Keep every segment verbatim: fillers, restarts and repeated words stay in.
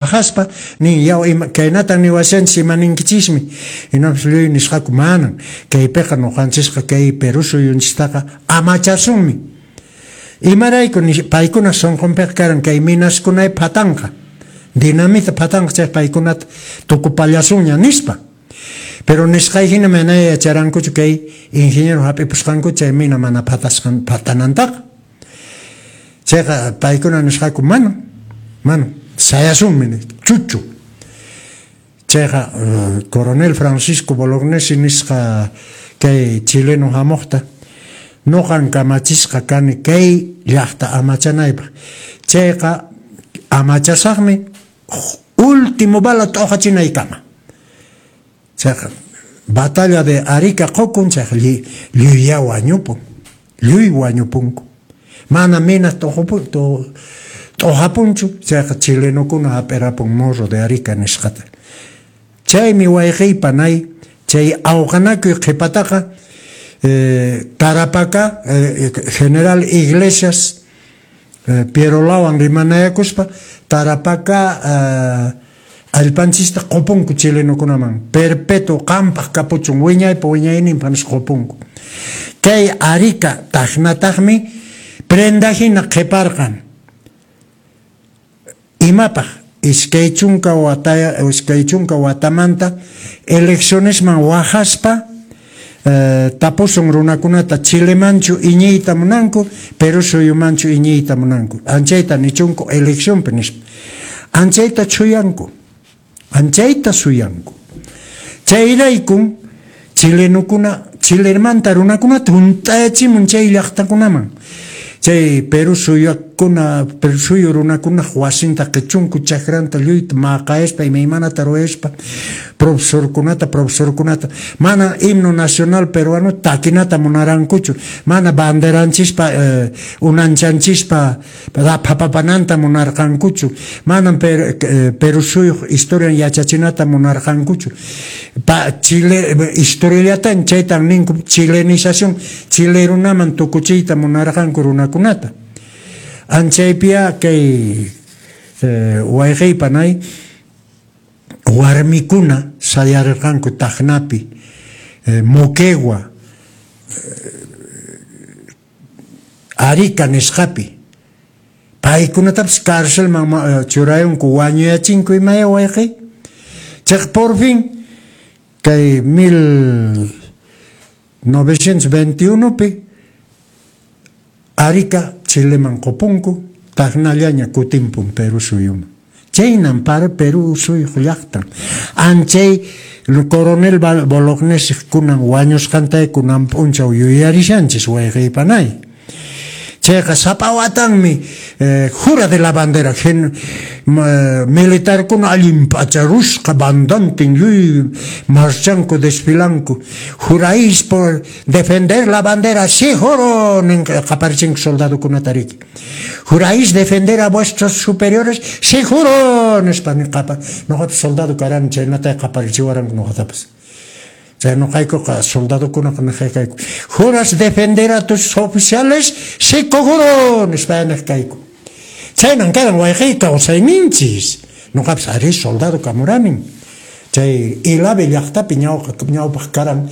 Wahaspa nin, yaw, ima kaynatan niwashanchis, ima ninkichismi? Hinapis lluy nisqaku, manan, kaypiqa nuqanchisqa kay Perú suyunchistaqa amachasunmi. Imarayku? Paykuna sunqunpiqa karan kay minaskunay phatanqa, dinamita phatanqa, chay paykunata tukupallasunña nispa. Pero nisqay hina mana yacharankuchu kay ingeniero hap'ipusqanku chay mina mana phatasqan phatanantaqa. Chayqa paykuna nisqaku, mana, mana, sayasunmi, chuchu. Chayqa coronel Francisco Bolognesi nisqa kay chileno hamuqta, nuqan kamachisqa kani kay llaqta amachanaypaq. Chayqa amachasaqmi último bala t'uqachinaykama. Chayqa batalla de Arica qukun, chayqa lluyya wañupun, lluy wañupunku. Mana mina t'uqapunchu, chayqa chilenokuna hap'irapun Morro de Arica nisqata. Chaymi wayqiy panay, chay awqanakuy qhipataqa eh, Tarapacá, eh, general Iglesias, eh, Pierolawan rimanayakuspa Tarapacá eh, allpanchista qupunku chilenokunaman, perpetuo qampaq kapuchun wiñaypa wiñayninpaq nispa qupunku. Kay Arica taqnataqmi prenda hina qhiparqan. Imapaq? Iskay chunka wata, iskay chunka watamanta eleccionesman wahaspa eh, tapusun runakunata Chilemanchu iñiyta munanku, Perú suyumanchu iñiyta munanku. Anchayta nichunku eleccionpi nispa. Anchayta chuyanku. Anchayta suyanku. Chayraykun chilenokuna, Chilemanta runakunata hunt'ayachimun chay llaqtakunaman. Chay Perú suyakuna, Perú suyu runakuna wasinta qichunku, chakranta lluyta maqayaspa, imaymanata ruwaspa, profesorkunata, profesorkunata, mana himno nacional peruano takinata munarankuchu, mana banderanchispa eh, unanchanchispa phapapananta munarqankuchu, mana per, eh, Perú suyuq historian yachachinata munarqankuchu. Pa, Chile, historiallatan chaytan ninku chilenización, Chile runaman tukuchiyta munarqanku runakunata. Anchaypiya kay eh, wayqiy panay warmikuna sayarirqanku Tacnapi, eh, Moquegua, eh, Arica nisqapi. Paykunatapas carcelman churayunku, wañuyachinku imaya wayqiy. Chayqa por fin kay mil novecientos veintiuno pi Arica Chileman qupunku, Tacnallaña kutimpun Perú suyuman. Chaynan para Perú suyuq llaqtan. Anchay coronel Bolognesi kunan wañusqantay kunan p'unchaw yuyarishanchis wayqiy panay. Chayqa sapa watanmi eh, jura de la bandera gen, eh, militarkuna allin p'acharusqa bandantin lluy marchanku desfilanku. Juráis por defender la bandera, sí juro, nin qaparichinku soldadokunata riki. Juráis defender a vuestros superiores, sí juro, nispa qapa. Noqapas soldado karani chaynata qaparichiwaranku noqatapas. Chay noqaykuqa soldadokunaqa niq kayku. Juras defender a tus oficiales, sí juro, nispa niq kayku. Chaynan karan wayqiy kawsayninchis. Noqapas arí soldado kamuranin. Chay Ilave llaqtapi ñawqa ñawpaq karan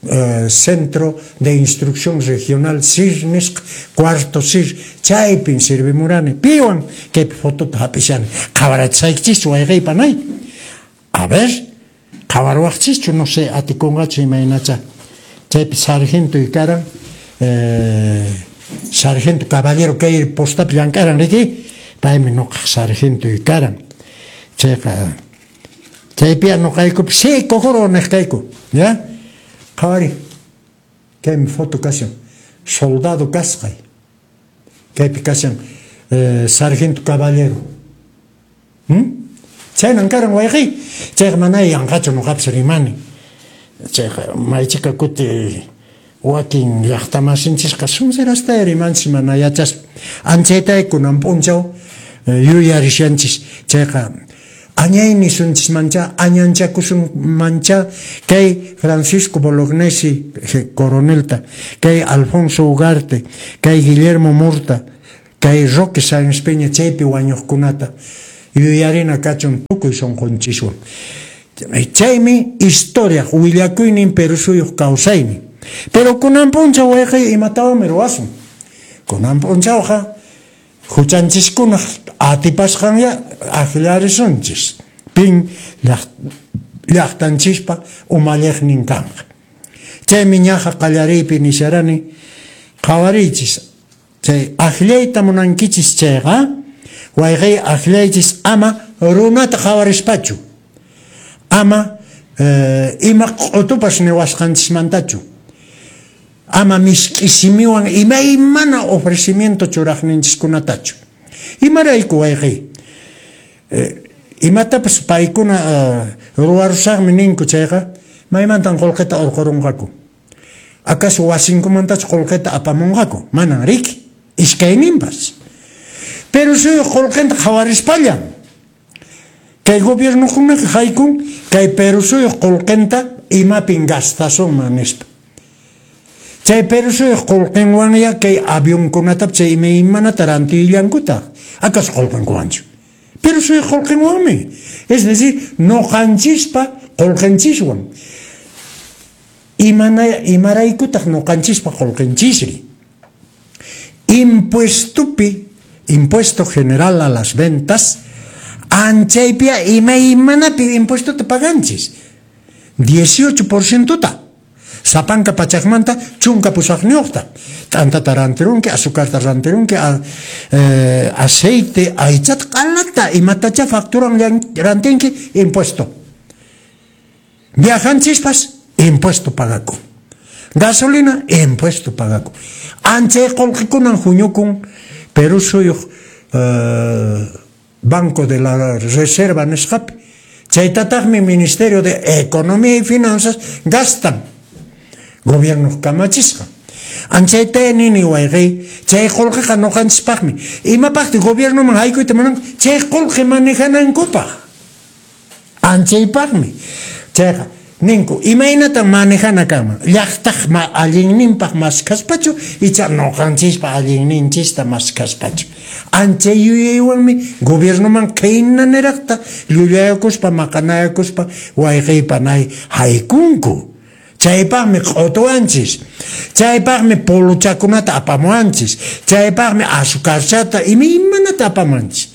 eh, Centro de Instrucción Regional C I R nisqa, cuarto C I R, chaypin sirvimurani. Piwan kaypi fotota hap'ishani. Qhawarachisaykichis wayqiy panay. A ver, qhawarwaqchischu, no sé, atikunqachu imaynacha. Chaypi sargento karan, eh, sargento caballero kay postapi llank'aran riki, paymi nuqaq sargento karan. Chayqa chaypiya nuqaykupi sí juro niq kayku, ya? Qhawari, kaymi foto kashan, soldado kasqay. Kaypi kashan eh, sargento caballero. ¿Mm? Chaynan karan wayqiy. Chayqa mana yanqachu nuqapas rimani. Chayqa maychika kuti wakin llaqtamasinchisqa sunserasta rimanchis mana yachaspa. Anchaytay kunan p'unchaw yuyarishanchis. Chayqa añay nisunchismancha, añanchakusunmancha kay Francisco Bolognesi coronelta, kay Alfonso Ugarte, kay Guillermo Murta, kay Roque Sáenz Peña chaypi wañuqkunata yuyarina kachun tukuy sunqunchiswan. Chaymi historia willakuynin Perú suyuq kawsaynin. Pero kunan p'unchaw wayqiy imatawanmi ruwasun? Kunan p'unchawqa huchanchiskunaq atipasqanya akllarisunchis. Pin llaqtanchispa umalliqnin kanqa. Chaymi ñaqa qallariypi nisharani qhawariychis. Chay akllayta munankichis chayqa wayqiy akllaychis ama runata qhawarispachu. Ama eh, ima q'utupas niwasqanchismantachu. Ama misk'i simiwan imaymana ofrecimiento churaqninchiskunatachu. Imarayku wayqiy? Eh, imatapas paykuna uh, ruwarusaqmi ninku chayqa maymantan qullqita urqurunqaku. Acaso wasinkumantachu qullqita apamunqaku? Manan riki, iskayninpas. Pero suyuq qullqinta qhawarispallan. Kay gobiernokunaqa haykun kay Perú suyuq qullqinta imapin gastasunman nispa. Chay Perú suyuq qullqinwanya kay avionkunata chay imaymanata rantillankutaq. Acaso qullqinkuwanchu? Perú suyuq qullqinwanmi. Es decir, ñuqanchispa qullqinchiswan. Imana imaraykutaq ñuqanchispa qullqinchisri? Impuestopi, impuesto general a las ventas, anchaypia imaymanapi impuestota paganchis. dieciocho por ciento ta. Sapanka pachakmanta chunka pusaqniyuqta. T'antata rantirunki, azucarta rantirunki, a, eh, aceite, aychata q'alata, imatacha facturan rantinki, impuesto. Viajanchispas, impuesto pagakun. Gasolina, impuesto pagakun. Anchay qullqikunan huñukun Perú suyuq eh, Banco de la Reserva nisqapi. Chaytataqmi Ministerio de Economía y Finanzas gastan. Gobierno kamachisqa. Anchayta nini wayqiy, chay qullqiqa ñuqanchispaqmi. Imapaqti gobiernoman haykuyta munanku? Chay qullqi manejanankupaq. Anchaypaqmi. Chayqa ninku, imaynatan manejana kanman? Llaqtaq ma allinninpaq maskhaspachu icha ñuqanchispa allinninchista maskhaspachu. Anchay yuyaywanmi gobiernoman khayna niraqta llullayakuspa maqanayakuspa wayqiypa nay haykunku. Chaypaqmi q'utuwanchis, chaypaqmi puluchakunata apamuwanchis, chaypaqmi azucarchata imaymanata apamuwanchis.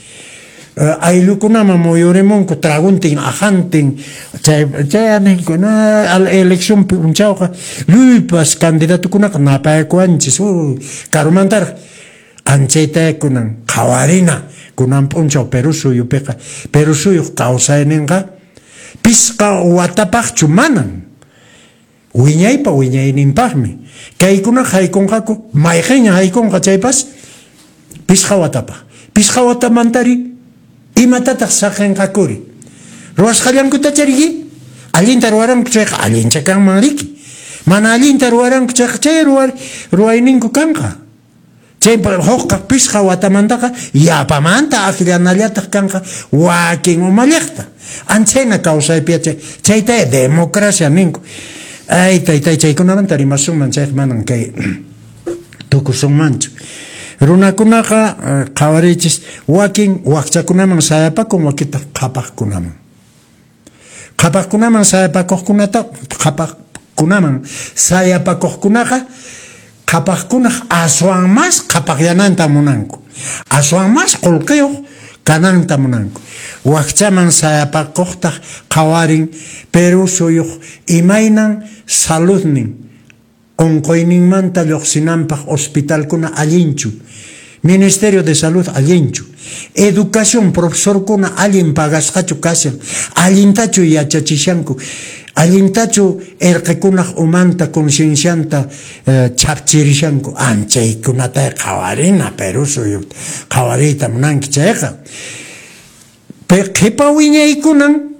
Uh, ayllukunaman muyurimunku traguntin ajantin chay chay ninku na al elección p'unchawqa lluypas candidatukunaqa napayakuwanchis uh, karumantaraq anchayta kunan qhawarina kunan p'unchaw Perú suyupiqa. Perú suyuq kawsayninqa pisqa watapaqchu manan. Wiñaypa wiñayninpaqmi. Kaykunaqa haykunqaku, mayqinña haykunqa chaypas pisqa watapaq. Pisqa watamantari imatataq saqinqakuri? Ruwasqallankutacha riki? Allinta ruwaranku chayqa allincha kanman riki. Mana allinta ruwaranku chayqa chay ruwar, ruwayninku kanqa. Chay hukqa pisqa watamantaqa yapamanta akllanallataq kanqa wakin umalliqta. Anchayna kawsaypi chay chayta democracia ninku. Ay, taytay, chaykunamanta rimasunman chayqa manan kay tukusunmanchu. Runakunaqa qhawariychis wakin wakchakunaman sayapakun, wakintaq qhapaqkunaman. Qhapaqkunaman sayapakuqkunata qhapaqkunaman sayapakuqkunaqa qhapaqkunaq aswan mas qhapaqyananta munanku. Aswan mas qullqiyuq kananta munanku. Wakchaman sayapakuqtaq qhawarin Perú suyuq imaynan saludnin unquyninmanta lluqsinanpaq hospitalkuna allinchu. Ministerio de Salud allinchu. Educación profesorkuna allin pagasqachu kashan. Allintachu yachachishanku. Allintachu erqikunaq umanta conciencianta eh, chapchirishanku. Anchaykunata qhawarina Perú suyuta qhawariyta munanki chayqa. Qhipa wiñaykunan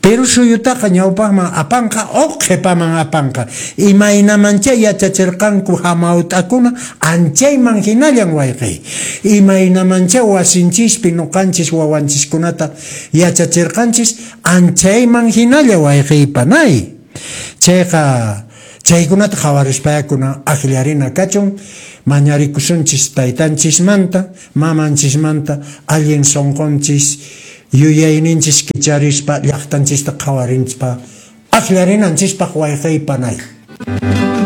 Perú suyutaqa ñawpaqman apanqa o qhipaman apanqa. Imaynamancha yachachirqanku hamawt'akuna anchayman hinallan wayqiy. Imaynamancha wasinchispi ñuqanchis wawanchiskunata yachachirqanchis anchayman hinalla wayqiypanay. Chayqa chaykunata qhawarispayakuna akllarina kachun mañarikusunchis taytanchismanta mamanchismanta allin sunqunchis Yuyayninchis kicharispa llaqtanchista qhawarinchpa, akllarinanchispaq wayqey panay.